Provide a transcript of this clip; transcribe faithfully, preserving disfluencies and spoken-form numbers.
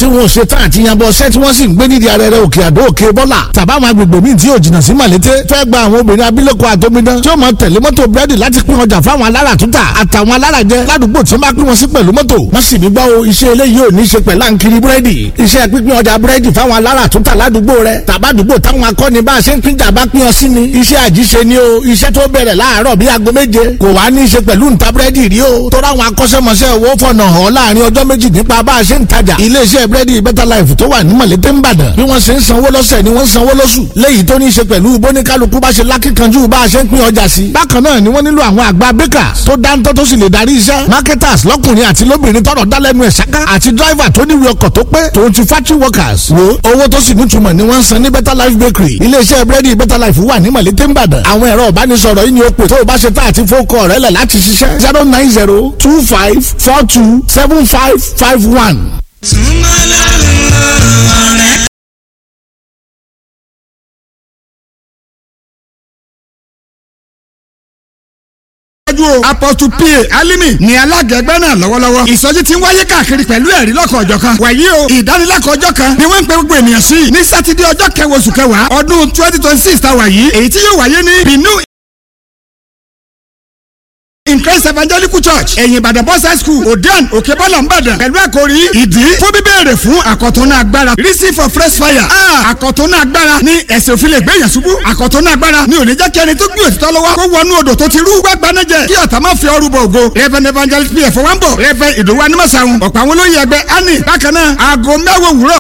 Tí wọn ò ṣe tán àti yanbọ ṣẹ́, tí wọ́n sì ń gbé nídìí arẹrẹ òkè àdó, òkè bọ́là tàbáwọn agbègbè míì tí yóò jìnnà sí Màlété, fẹ́ gba àwọn obìnrin abilékọ àtòmídán tí ó máa tẹ̀lé mọ́tò búrẹ́dì láti pín ọjà fáwọn alára tútà àtàwọn alárajẹ ládùúgbò tí wọ́n bá pín wọn sí pẹ̀lú mọ́tò. Wọ́n sì ní gbọ́ o, iṣẹ́ eléyìí ò ní ṣe pẹ̀lú àǹkiri búrẹ́dì. Iṣẹ́ pínpín ọjà búrẹ́dì fáwọn alára tútà ládùúgbò rẹ tàbádùúgbò táwọn akọni bá a ṣe ń pínjà bá pín ọ sí ni. Iṣẹ́ àjíṣe ni o, iṣẹ́ tó bẹ̀rẹ̀ láàárọ̀ bí aago méje kò wá ní í ṣe pẹ̀lú ǹta búrẹ́dì rí o. Tó ráwọn akọ́ṣẹ́mọṣẹ́ owó fọ̀nà hàn láàrin ọjọ́ méjì nípa bá a ṣe ń tajà. Iléeṣẹ́ búrẹ́dì Better Life tó wà ní Mọ̀lété ńbàdàn, bí wọ́n ṣe ń sanwó lọ́sẹ̀ ni wọ́n ń sanwó lóṣù, léyìí tó ní í ṣe pẹ̀lú bóníkálukú bá ṣe lákìkanjú bá a ṣe ń pín ọjà sí. Bákan náà ni wọ́n nílò àwọn àgbà bakers tó dáńtọ́ tó sì lè darí iṣẹ́, marketers lọ́kùnrin àti lóbìnrin tọrọ dálẹ́nu ẹ̀ ṣáká, àti driver tó níwèé ọkọ̀ tó pé, tòun ti factory workers. Wo, owó tó sì nítumọ̀ ni wọ́n ń san ní Better Life Bakery. Iléeṣẹ́ búrẹ́dì Better Life wà ní Mọ̀lété ńbàdàn. Àwọn ẹ̀rọ ìbánisọ̀rọ̀ yìí ni ó pè tó o bá ṣe tá àti fókọ̀ rẹ̀ lẹ̀ láti ṣiṣẹ́: zero nine zero two five four two seven five five one. Síwájú o, Apostle pa Alimi ní alága ẹgbẹ́ náà lọ́wọ́lọ́wọ́. Ìsọjí ti ń wáyé káàkiri pẹ̀lú ẹ̀rí lọ́kọ̀ ọ̀jọ̀kan. Wàyí o, ìdánilẹ́kọ̀ọ́ ọjọ́ kan ni wọ́n ń pe gbogbo ènìyàn sí ní Sátidé, ọjọ́ kẹwàá oṣù kẹwàá ọdún twenty twenty six tá a wà yìí, èyí tí yóò wáyé ní Binu in Christ Evangelical Church, ẹ̀yìn Ìbàdàn Boys High School, Odean, Òkèbọ́là, Ìbàdàn, pẹ̀lú àkòrí ìdí fún bíbéèrè fún àkọ̀túnná agbára, reason for fresh fire. Ah, àkọ̀túnná agbára ní ẹ̀sìn òfin lè gbé yàn ṣubú. Àkọ̀túnná agbára ní ò ní jẹ́ kí ẹni tó gbé òtítọ́ lọ́wọ́ kó wọnú odò tó ti rú gbàgbanájẹ, kí ọ̀tá má fi ọrù bọ̀ ògo. Reverend Evangelist P F Wambo, Reverend Ìdòwú Animasaun, ọ̀pọ̀ àwọn olóyè ẹgbẹ́ ani. Bákan náà, aago mẹ́wàá òwúrọ̀.